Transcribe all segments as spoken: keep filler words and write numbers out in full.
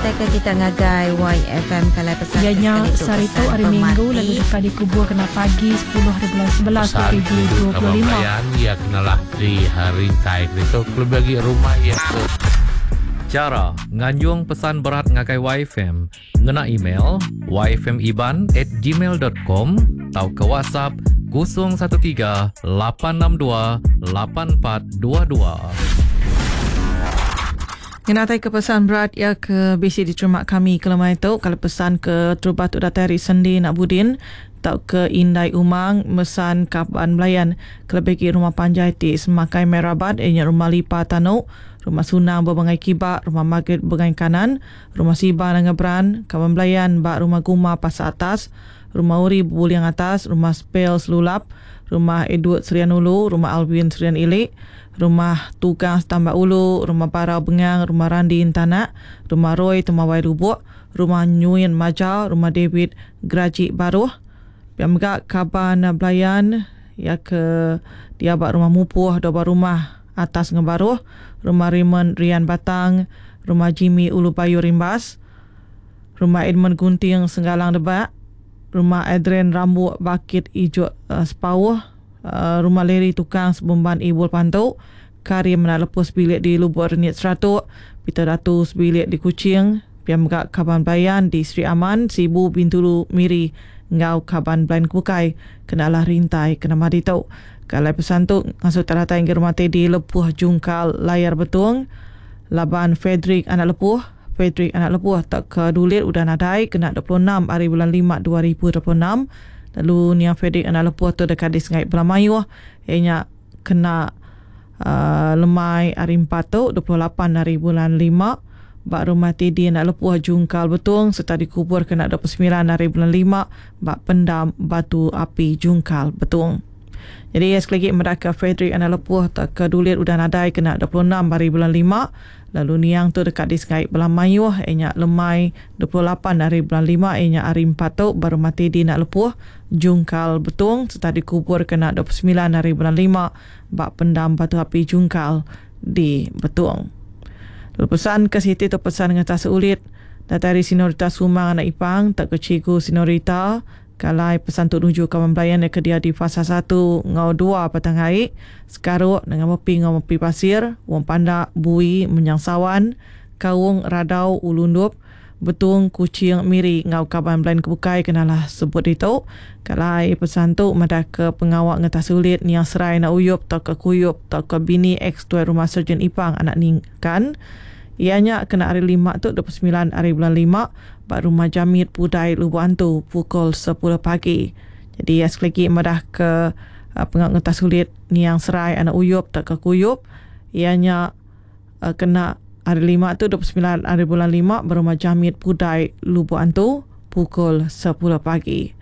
Ngenatai ke kita ngagai Y F M kalai pesan Iya nya ke sekali tu sehari tu pesan hari Minggu pemati. Lalu deka dikubur kena pagi sepuluh hari bulan sebelas Pesan dua ribu itu dua puluh kawan lima. pelayan, ia kenalah di hari rintai itu lebih lagi rumah ia ke Cara nganjung pesan berat ngagai Y F M ngena email y f m iban at gmail dot com atau ke WhatsApp kosong satu tiga lapan enam dua lapan empat dua dua. Ngenatai ke pesan berat ya ke B C diterima kami ke lemai tu. Kalau pesan ke terubah tu datai hari Sendi nak Budin tau ke Indai Umang mesan kaban belayan kelebih ke rumah panjai ti semakai Merabat ianya rumah Lipa Tanu, rumah Sunang berbangai Kibak, rumah Margaret berbangai Kanan, rumah Siba Nangebran, kaban belayan bak rumah Guma Pasar Atas, rumah Uri Buliang Atas, rumah Spel Selulap, rumah Edward Serian Ulu, rumah Alvin Serian Ilik, rumah Tukang Setambak Ulu, rumah Parau Bengang, rumah Randi Intanak, rumah Roy Temawai Lubuk, rumah Nyuin Maja, rumah David Gerajik Baruh. Yang mega kaban belayan ya ke dia bak rumah Mupuh, dua rumah atas ngebaruh, rumah Raymond Rian Batang, rumah Jimmy Ulu Bayu Rimbas, rumah Edmund Gunting Senggalang Debak, rumah Adrian Rambuk Bakit Ijuk, uh, Sepauh, uh, rumah Larry Tukang Sebumban Ibul Pantuk, Karim Menak Lepus bilik di Lubuk Renit Seratuk, Peter Datu sebilik di Kuching, piam mega kaban belayan di Sri Aman, Sibu, Bintulu, Miri, ngau kaban belayan Kukai, kenalah rintai kena madi tu. Kalau pesan tu ngasuh teratai ke rumah Teddy Lepuh Jungkal Layar Betung, Laban Frederick Anak Lepuh, Frederick Anak Lepuh tak ke dulit udah nadai kena dua puluh enam hari bulan lima dua ribu dua puluh enam. Lalu ni Frederick Anak Lepuh tu dekat di Sungai Belamayuh, ianya kena, uh, lemai hari empat tu dua puluh lapan hari bulan lima bak rumah Teddy Anak Lepuh Jungkal Betung serta dikubur kena dua puluh sembilan hari bulan lima bak pendam Batu Api Jungkal Betung. Jadi sekali lagi mereka Frederick Anak Lepuh tak ke dulit udah nadai kena dua puluh enam hari bulan lima. Lalu niang tu dekat di Sungai Belamayuh ianya lemai dua puluh lapan hari bulan lima ianya hari empat tu baru mati di Nak Lepuh Jungkal Betung serta dikubur kena dua puluh sembilan hari bulan lima bak pendam Batu Api Jungkal di Betung. Lalu pesan ke Siti tu pesan dengan tas ulit datang dari Sinorita Sumang Anak Ipang tak ke Cikgu Sinorita. Kalai pesan tu nuju kawan belayan yang kedia di fasa satu ngau dua petang hari sekaruk dengan mepi ngau mepi pasir wong pandak bui menyang sawan kaung radau ulundup Betung Kucing Miri ngau kawan belayan kebukai kenalah sebut itu. Kalai pesan tu madah ke pengawak ngetah sulit niang serai nak uyup atau ke kuyup atau ke bini ex tuan rumah Sarjan Ipang anak ningkan. Ianya kena hari lima tu dua puluh sembilan hari bulan lima bak rumah Jamit Pudai Lubuk Antu pukul sepuluh pagi. Jadi ya, sekali lagi madah ke, uh, pengawak ngetah sulit niang serai anak uyup atau ke kuyup. Ianya, uh, kena hari lima tu dua puluh sembilan hari bulan lima berumah Jamit Pudai Lubuk Antu pukul sepuluh pagi.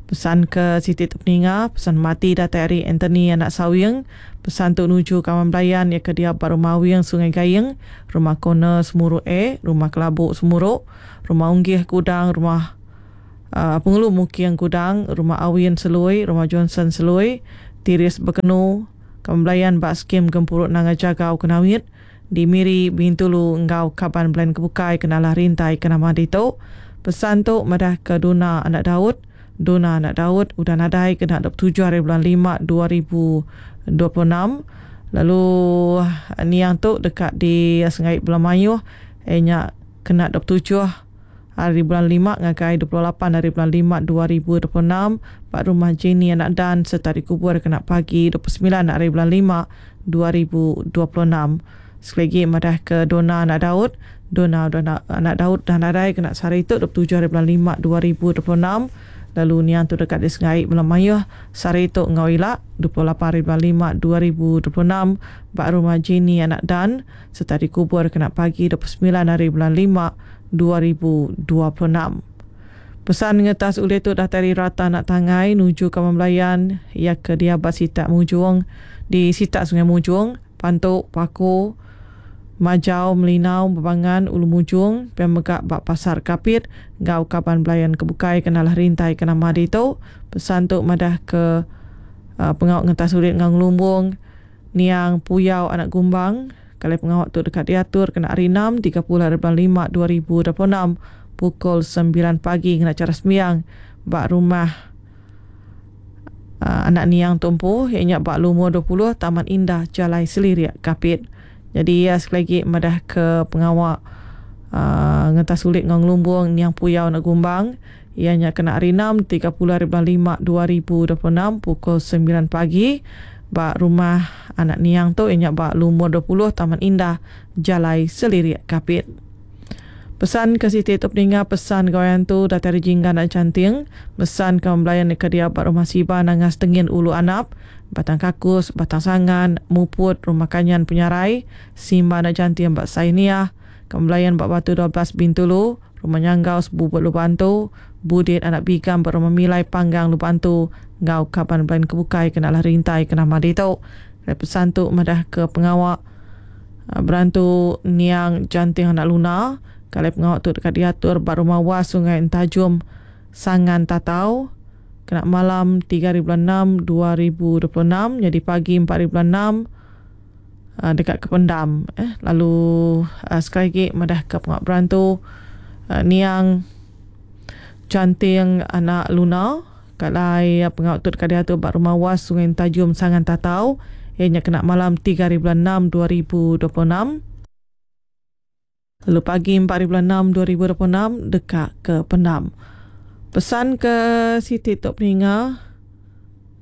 Pesan ke Siti Tepeninga, pesan mati datang dari Anthony anak Sawing, pesan tu nuju kawan belayan ya ke dia baru Mawing Sungai Gayeng, rumah Kona Semuruk A, rumah Kelabuk Semuruk, rumah Unggih Kudang, rumah, uh, Pengulu Mukiang Kudang, rumah Awin Selui, rumah Johnson Selui, Tiris Bekenu, kawan belayan bak skim Gempuruk Nanga Jagau Kenawit, di Miri Bintulu engkau kaban belayan kebukai kenalah rintai kenama ditu. Pesan tu madah ke Dona anak Daud, Dona anak Daud udah nadai kena dua puluh tujuh hari bulan lima dua ribu dua puluh enam. Lalu niang tu dekat di Sungai Belamayuh ianya kena dua puluh tujuh hari bulan lima ngagai dua puluh lapan hari bulan lima dua ribu dua puluh enam pak rumah Jenny anak Dan serta dikubur kena pagi dua puluh sembilan hari bulan lima dua ribu dua puluh enam. Sekali lagi madah ke Dona anak Daud, Dona Dona anak Daud dan nadai kena sehari itu dua puluh tujuh hari bulan lima dua ribu dua puluh enam. Lalu niang tu dekat di Sungai Belamayuh sehari itu ngau ilak dua puluh lapan hari bulan lima dua ribu dua puluh enam bak rumah Jenny anak Dan serta dikubur kena pagi dua puluh sembilan hari bulan lima dua ribu dua puluh enam. Pesan ngetas ulih tu dah tari rata nak tangai nuju ke Melayan ya ke dia bak sitak Mujung di sitak Sungai Mujung, Pantuk, Paku, Majau, Melinau, Bebangan, Ulu Mujung, Pemegak bak Pasar Kapit, Gau Kaban Belayan Kebukai kenalah rintai kena madi tu. Pesan tu madah ke, uh, pengawak ngetas ulit ngang lumbung, Niang Puyau anak Gumbang, Kalau pengawak tu dekat diatur kena hari enam tiga puluh hari bulan lima dua ribu dua puluh enam pukul sembilan pagi kena cara sembiang bak rumah uh, anak niang tumpu ianya bak lumur dua puluh Taman Indah Jalai Selirik Kapit. Jadi ya, sekali lagi madah ke pengawak uh, ngetas sulit ngong lumbung niang puyau nak gumbang ianya kena hari enam tiga puluh hari bulan lima dua ribu dua puluh enam pukul sembilan pagi bak rumah anak niang tu ianya bak lumur dua puluh Taman Indah Jalai Selirik Kapit. Pesan ke Siti tu peninga pesan gawayan tu datari jingga nak canting pesan ke membelayan ke dia bak rumah Siba Nangas Tengin Ulu Anap Batang Kakus Batang Sangan Muput Rumah Kanyan Penyarai Simba nak canting bak Sainiah kembelayan bak Batu dua belas Bintulu Rumah Nyanggau Sebubut Lubantu Budit anak Bigam bak Rumah Milai Panggang Lubantu ngau kaban belayan kebukai kena lah rintai kena madi tu. Pesan tu madah ke pengawak berantu niang janting anak Luna. Kalau pengawak tu dekat diatur bak rumah Was Sungai Entajum Sangan Tatau kena malam tiga hari bulan enam dua ribu dua puluh enam jadi pagi empat hari bulan enam dekat Kependam. Eh, lalu sekali lagi madah ke pengawak berantu niang janting anak Luna. Kalau pengawak tu dekat diatur bak rumah Was Sungai Entajum Sangan Tatau ianya kena malam tiga hari bulan enam dua ribu dua puluh enam. Lalu pagi empat hari bulan enam dua ribu dua puluh enam dekat ke Pendam. Pesan ke Siti Tok Peninga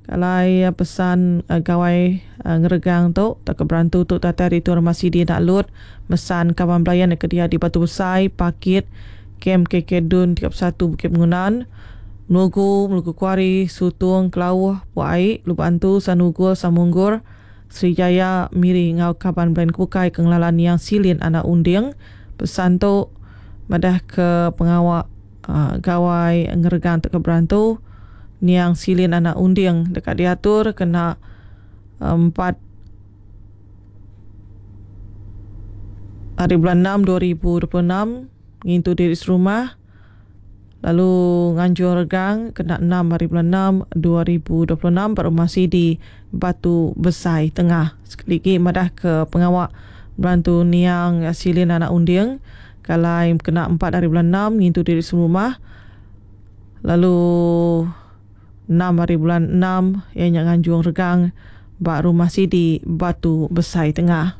kalau pesan uh, gawai uh, ngeregang tu tak ke berantu tu tata hari tu rumah Sidi nak lut mesan kawan belayan ke dia di Batu Besai Pakit K M K K Dun tiga puluh satu Bukit Bangunan Melugu, Melugu Kuari, Sutung, Kelauh, Puai, Lubantu, Sanugul, Samunggur, Sri Jaya, Miri, Ngau Kaban Belayan Kukai, Kenglalan Yang Silin, Anak Unding. Pesan tu madah ke pengawak uh, gawai ngeregang tak ke berantu niang Silin Anak Unding dekat diatur kena empat hari bulan enam dua ribu dua puluh enam ngintu diri serumah lalu nganjur regang kena enam hari bulan enam dua ribu dua puluh enam pada rumah Sidi Batu Besai Tengah. Sekali lagi madah ke pengawak berantu niang Silin Anak Unding kalau kena empat hari bulan enam ngintu diri serumah lalu enam hari bulan enam ianya nganjung regang bak rumah Sidi Batu Besai Tengah.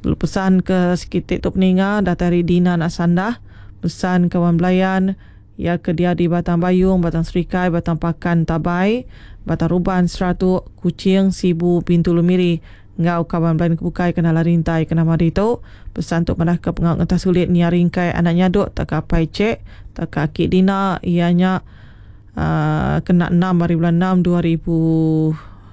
Lalu pesan ke sekitik tu peninga datari Dina Nak Sandah pesan kawan belayan ya ke dia di Batang Bayung, Batang Serikai, Batang Pakan Tabai, Batang Ruban, Seratuk, Kuching, Sibu, Bintulu Miri ngau kawan belayan kebukai kena larintai kena mari tu. Pesan tu madah ke pengawak ngetah sulit nia ringkai anak nyaduk tak kapai cek tak kaki Dina ianya uh, kena enam hari bulan enam dua ribu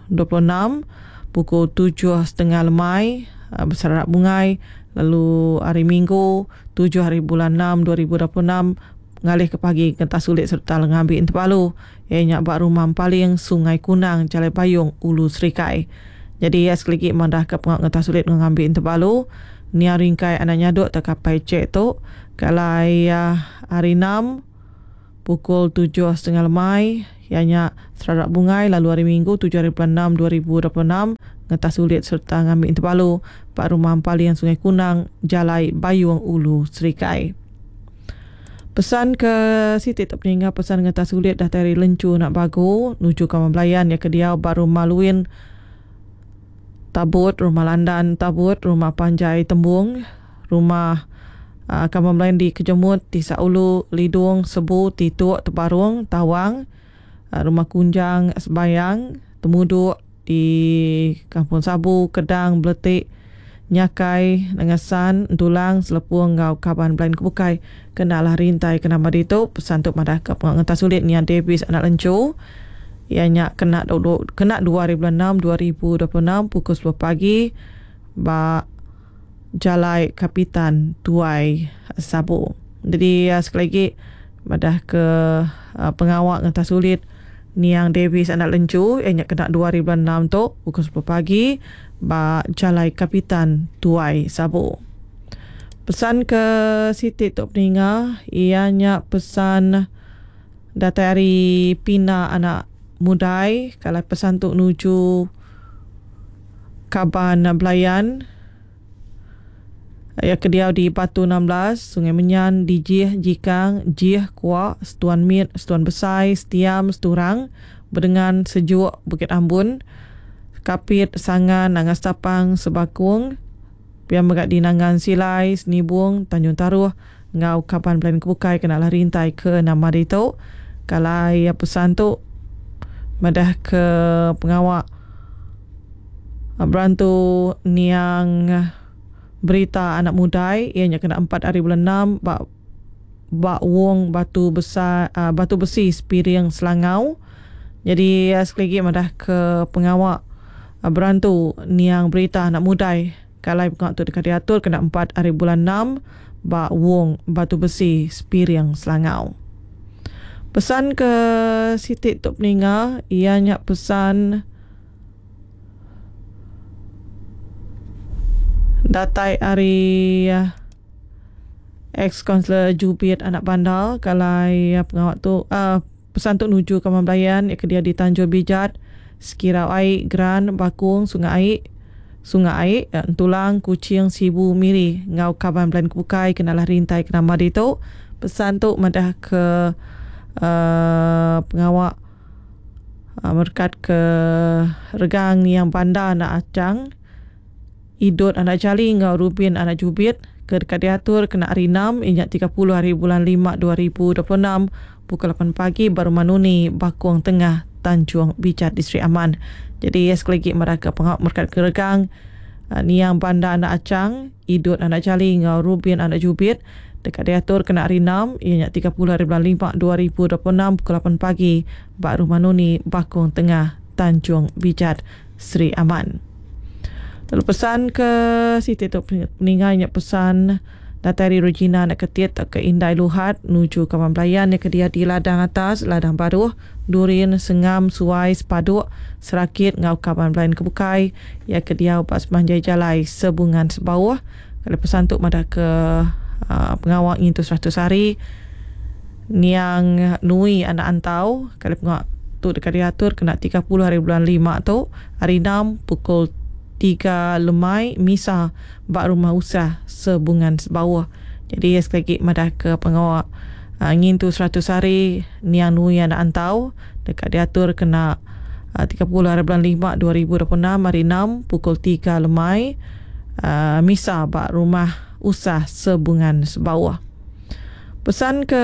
dua puluh enam pukul tujuh setengah lemai uh, berserak bungai lalu hari Minggu tujuh hari bulan enam dua ribu dua puluh enam ngalih ke pagi kentah sulit serta lengambil Intipalu ianya bak rumah Paling Sungai Kunang Jalai Bayung Ulu Serikai. Jadi ya sekali lagi mandah ke pengak ngetah sulit mengambil Intipalu nia ringkai anak nyaduk terkapai cek tu kalau ya hari enam pukul tujuh setengah lemai ianya serarak bungai lalu hari Minggu tujuh hari bulan enam dua ribu dua puluh enam ngetah sulit serta ngambil Intipalu pak rumah Paling Sungai Kunang Jalai Bayung Ulu Serikai. Pesan ke Siti tak peninggal pesan ngetah sulit dah tari lencu nak bagu nuju kawan belayan ya ke dia baru maluin Tabut, rumah Landan Tabut, rumah Panjai Tembung, rumah uh, kawan belayan di Kejemut, Tisak Ulu, Lidung, Sebu, Tituk, Tebarung, Tawang, uh, rumah Kunjang, Sebayang, Temuduk di Kampung Sabu, Kedang, Beletik, Nyakai, Nengasan, Entulang, Selepung, Ngau, Kaban, Belayan Kebukai, kenalah rintai kena madi tu. Pesan tu madah ke pengawak ngetah sulit nian Davis anak lencu ianya kena kena dua hari bulan enam dua ribu dua puluh enam pukul sepuluh pagi bak Jalai Kapitan Tuai Sabu. Jadi sekali lagi madah ke uh, pengawak ngetah sulit niang Davis anak lencu ianya kena dua hari bulan enam tu pukul sepuluh pagi bak Jalai Kapitan Tuai Sabu. Pesan ke Siti Tok Peninga ianya pesan datari Pina anak Mudai kalau pesan tu nuju Kaban Belayan Ya ke diau di Batu enam belas, Sungai Menyan, Dijih, Jikang, Jih, Kuak, Setuan Mit, Setuan Besai, Setiam, Seturang, Bedengan, Sejuk, Bukit Ambun, Kapit, Sangan, Nangas Tapang, Sebakung, pia mega di Nangan Silai, Senibung, Tanjung Taruh, ngau kaban belayan kebukai kena lah rintai ke nama ditu. Kalai pesan tu madah ke pengawak berantu niang berita anak mudai ianya kena empat hari bulan enam bak bak wong batu besar uh, batu besi Sepiring Selangau. Jadi uh, sekali lagi madah ke pengawak uh, berantu niang berita anak mudai kalai pengawak tu dekat diatur kena empat hari bulan enam bak wong batu besi Sepiring Selangau. Pesan ke Siti Tok Peninga ianya pesan datai ari ex-kaunselor Jubit Anak Bandar kalai pengawak tu uh, pesan tu nuju ke Mamblayan ke dia di Tanjung Bijat, Sekirau Aik, Gran, Bakung, Sungai Aik, Sungai Aik, Entulang, Kuching, Sibu, Miri, ngau kaban belayan kebukai kenalah rintai ke nama ditu. Pesan tu madah ke uh, pengawak uh, merkat ke regang yang bandar anak acang Idut anak Jali ngau Rubin anak Jubit ke dekat diatur kena hari enam ingat tiga puluh hari bulan lima dua ribu dua puluh enam pukul lapan pagi baru Manuni Bakung Tengah Tanjung Bijat di Sri Aman. Jadi sekali lagi mereka pengawak merkat keregang niang bandar anak Acang Idut anak Jali ngau Rubin anak Jubit dekat diatur kena hari enam ingat tiga puluh hari bulan lima dua ribu dua puluh enam pukul lapan pagi baru Manuni Bakung Tengah Tanjung Bijat Sri Aman. Lalu pesan ke Siti tu peninggalnya pesan datari Regina nak ketit ke Indai Luhat nuju ke Mamblayan ke dia di ladang atas, ladang baruh, Durin, Sengam, Suai, Sepaduk, Serakit ngau kaban belayan kebukai ya ke dia pas manjai jalai sebungan sebawah. Kalau pesan tu madah ke uh, pengawak ngintu seratus hari niang nui anak antau kalau pengawak tu dekat diatur kena tiga puluh hari bulan lima tu hari enam pukul tiga lemai misa bak rumah usah sebungan sebawah. Jadi sekali lagi madah ke pengawak uh, ngintu seratus hari niang nui anak antau dekat diatur kena uh, tiga puluh hari bulan lima dua ribu dua puluh enam hari enam pukul tiga lemai uh, misa bak rumah usah sebungan sebawah. Pesan ke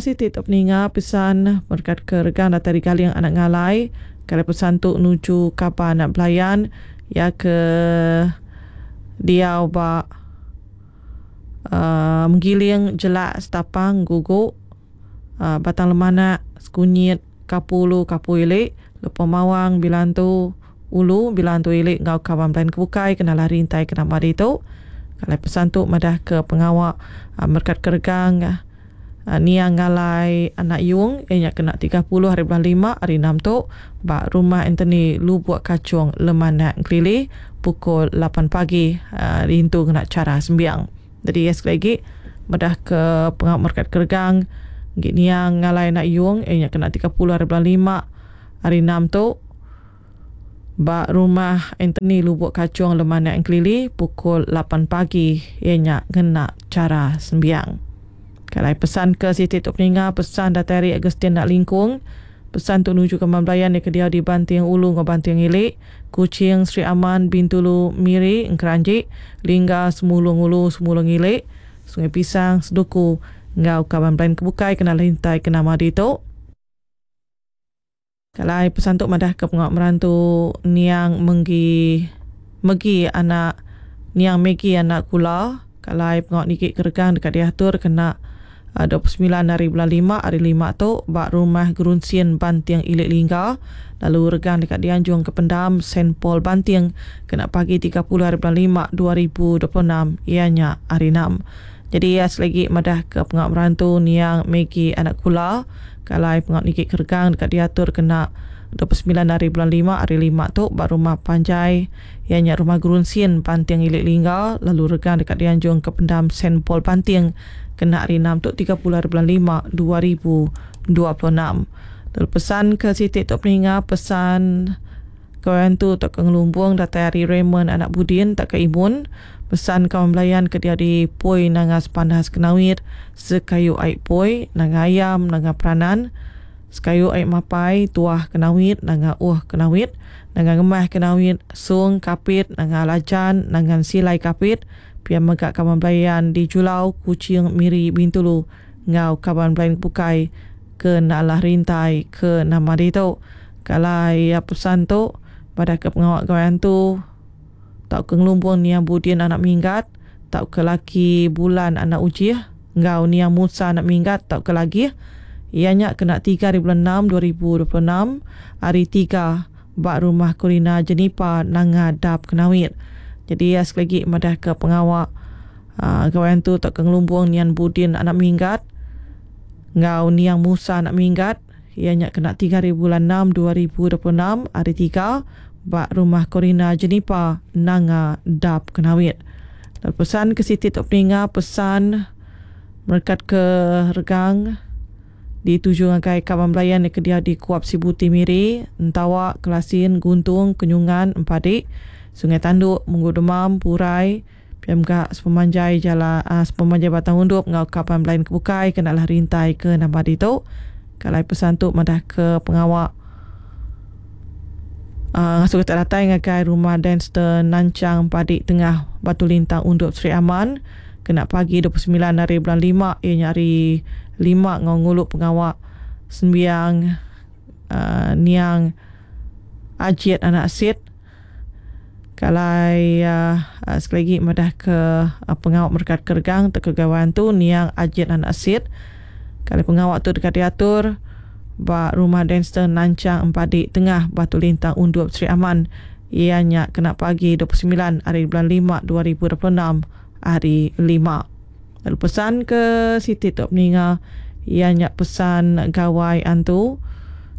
Siti Tok Peninga pesan berkat ke regang datari Galing anak ngalai kalau pesan tu nuju kapan anak belayan ya ke dia ba uh, menggiling jelak setapang guguk uh, batang lemanak sekunyit kapulu kapu ilik lupa mawang bilantu ulu bilantu ilik ngau kawan belayan kebukai kena lari rintai kena mari tu. Kalau pesan tu madah ke pengawak uh, merkat keregang uh, niang ngalai anak yung ianya kena tiga puluh hari bulan lima hari enam tu bak rumah Anthony Lubuk Kacung Lemanak Kelili pukul lapan pagi uh, rintu kena cara sembiang. Jadi ya, sekali lagi madah ke pengawak merkat keregang niang ngalai anak yung ianya kena tiga puluh hari bulan lima hari enam tu bak rumah Anthony Lubuk Kacung Lemanak Kelili pukul lapan pagi ianya kena cara sembiang. Kalau pesan ke Siti Tok Peninga pesan datari Agustin nak lingkung pesan tu nuju ke Mamblayan ke dia di Banting Ulu ngau Banting Ilik Kuching Sri Aman Bintulu Miri Engkeranjik Lingga Semulung Ulu Semulung Ilik Sungai Pisang Seduku ngau kaban belayan kebukai kena lintai kena madi tu. Kalau pesan tu madah ke pengawak merantu niang menggi megi anak niang Megi anak kula kalau pengawak nikik keregang dekat diatur kena dua puluh sembilan hari bulan lima hari lima tu bak rumah Gerunsian Banting Ilik Lingga lalu regang dekat dianjung ke pendam Saint Paul Banting kena pagi tiga puluh hari bulan lima dua ribu dua puluh enam ianya hari enam. Jadi ya selagi madah ke pengawak merantu niang Megi anak kula kalau pengawak nikik keregang dekat diatur kena dua puluh sembilan hari bulan lima hari lima tu bak rumah Panjai ianya rumah Gerunsian Banting Ilik Lingga lalu regang dekat dianjung ke pendam Saint Paul Banting kena hari enam tu tiga puluh hari bulan lima dua ribu dua puluh enam. Lalu pesan ke Siti Tok Peninga pesan kawan tu tak ke Ngelumbung datai hari Raymond anak Budin tak ke Imun Pesan kawan belayan ke dia di Poi Nanga Sepandas Kenawit, Sekayu Aik Poi, Nanga Ayam, Nanga Peranan, Sekayu Aik Mapai, Tuah Kenawit, Nanga Uh Kenawit, Nanga Ngemah Kenawit, Sung Kapit, Nanga Lajan, Nanga Silai Kapit, pia mega kawan belayan di Julau, Kuching, Miri, Bintulu, ngau kawan belayan Pukai ke Nalah Rintai ke nama ditu. Kalau ya pesan tu pada ke pengawak gawan tu tak ke ngelumbung niang Budin anak Minggat, tak ke laki Bulan anak Ujih, ngau niang Musa anak Minggat tak ke lagi. Ianya kena tiga hari bulan enam dua ribu dua puluh enam hari tiga bak rumah Kurina Jenipa Nanga Dap Kenawit. Jadi ya, sekali lagi madah ke pengawak uh, gawan tu tak ke ngelumbung niang Budin anak Minggat, ngau niang Musa anak Minggat. Ianya kena tiga hari bulan enam dua ribu dua puluh enam hari tiga bak rumah Korina Jenipa Nanga Dap Kenawit. Dan pesan ke Siti Tok Peninga, pesan merekat ke Regang dituju ngagai kawan belayan yang kedia di Kuap Sibuti Miri, Entawak, Kelasin, Guntung, Kenyungan, Empadik, Sungai Tanduk, Munggu Demam, Purai, P M K sepemanjai jala, uh, sepemanjai Batang Undup ngau kawan belayan kebukai kenalah rintai ke nama ditu. Kalau pesan tu madah ke pengawak Uh, ngasuh kita datang ngagai rumah Danster Nancang Padik Tengah Batu Lintang Undup Sri Aman kena pagi dua puluh sembilan hari bulan lima, ianya hari lima ngau nguluk pengawak sembiang uh, niang Ajit anak Sid. Kalau uh, uh, sekali lagi madah ke uh, pengawak merkat kergang terkegawan tu niang Ajit anak Sid. Kalau pengawak tu dekat diatur bak rumah Danster Nancang Empadik Tengah Batu Lintang Undup Sri Aman, ianya kena pagi dua puluh sembilan hari bulan lima dua ribu dua puluh enam hari lima. Lalu pesan ke Siti Tok Peninga, ianya pesan gawai antu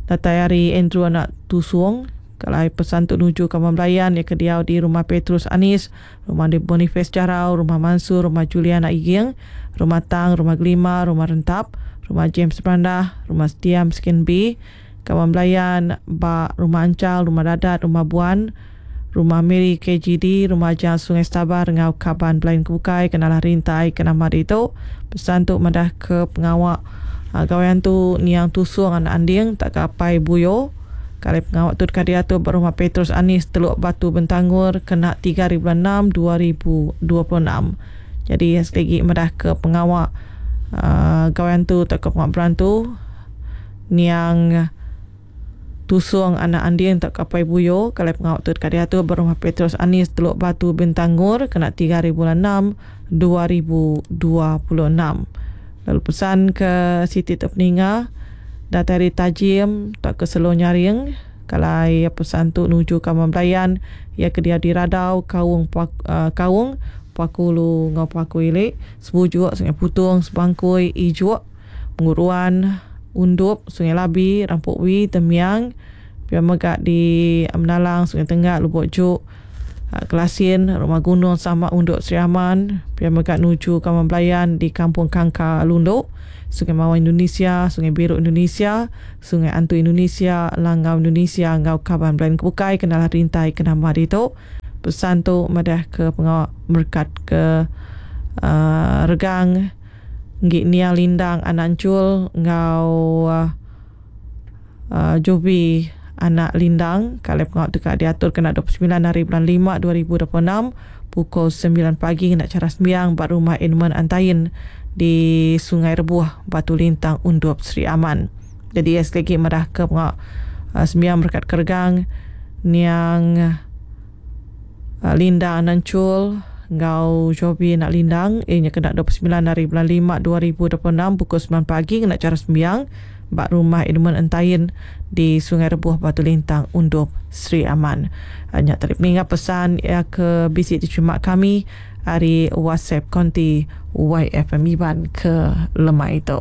datai hari Andrew anak Tusung. Kalau pesan tu nuju kawan belayan yang kediau di rumah Petrus Anis, rumah di Boniface Jarau, rumah Mansur, rumah Juliana Iging, rumah Tang, rumah Gelima, rumah Rentap, rumah James Brandah, rumah Setiam Skin B, kawan belayan bak rumah Ancal, rumah Dadat, rumah Buan, rumah Mary K G D, rumah Jang Sungai Stabar, ngau kaban belayan kebukai, kenalah rintai, kenama itu. Pesan tu madah ke pengawak uh, gawayan tu niang Tusung anak Anding, tak kapai Buyo. Kalau pengawak tu dekat diatur rumah Petrus Anis, Teluk Batu Bentangur, kena tiga hari bulan enam dua ribu dua puluh enam. Jadi sekali lagi madah ke pengawak Uh, gawayan tu tak ke pengawak berantu niang Tusung anak Anding tak kapai Buyo. Kalau pengawak tu dekat diatur berumah Petrus Anis Teluk Batu Bentangur, kena tiga hari bulan enam dua ribu dua puluh enam. Lalu pesan ke Siti Tok Peninga datari Tajim tak ke Selo Nyaring. Kalau pesan tu nuju kawan belayan ya ke dia di Radau Kaung Pak, uh, Kaung Pakulu ngau Paku Ilik, Sebujuk, Sungai Putung, Sebangkui, Ijuk, Penguruan, Undup, Sungai Labi, Rampuk Wi, Temiang, Pia Megak di Menalang, Sungai Tenggak, Lubuk Juk, Kelasin, Rumah Gunung sama Undup Sri Aman, Pia Megak nuju kawan belayan di Kampung Kangka Lunduk, Sungai Mawar Indonesia, Sungai Biru Indonesia, Sungai Antu Indonesia, Langau Indonesia, ngau kawan belayan kebukai, kenalah rintai kenama ditu. Pesan tu madah ke pengawak merkat ke uh, Regang Ngik Nia Lindang anak Ancul ngau uh, uh, Jobi anak Lindang. Kalau pengawak dekat diatur kena dua puluh sembilan hari bulan lima dua ribu dua puluh enam pukul sembilan pagi kena cara sembiang bak rumah Edmund Antain di Sungai Rebuh Batu Lintang Undup Sri Aman. Jadi sekali lagi madah ke pengawak uh, sembiang merkat ke Regang niang Linda Anancul ngau Jobi nak Lindang, ianya kena dua puluh sembilan hari bulan lima dua ribu dua puluh enam pukul sembilan pagi kena cara sembiang bak rumah Edmund Entayin di Sungai Rebuh Batu Lintang Undup Sri Aman. Hanya tarik mengingat pesan ya ke bisik diterima kami hari WhatsApp konti Y F M Iban ke lemah itu.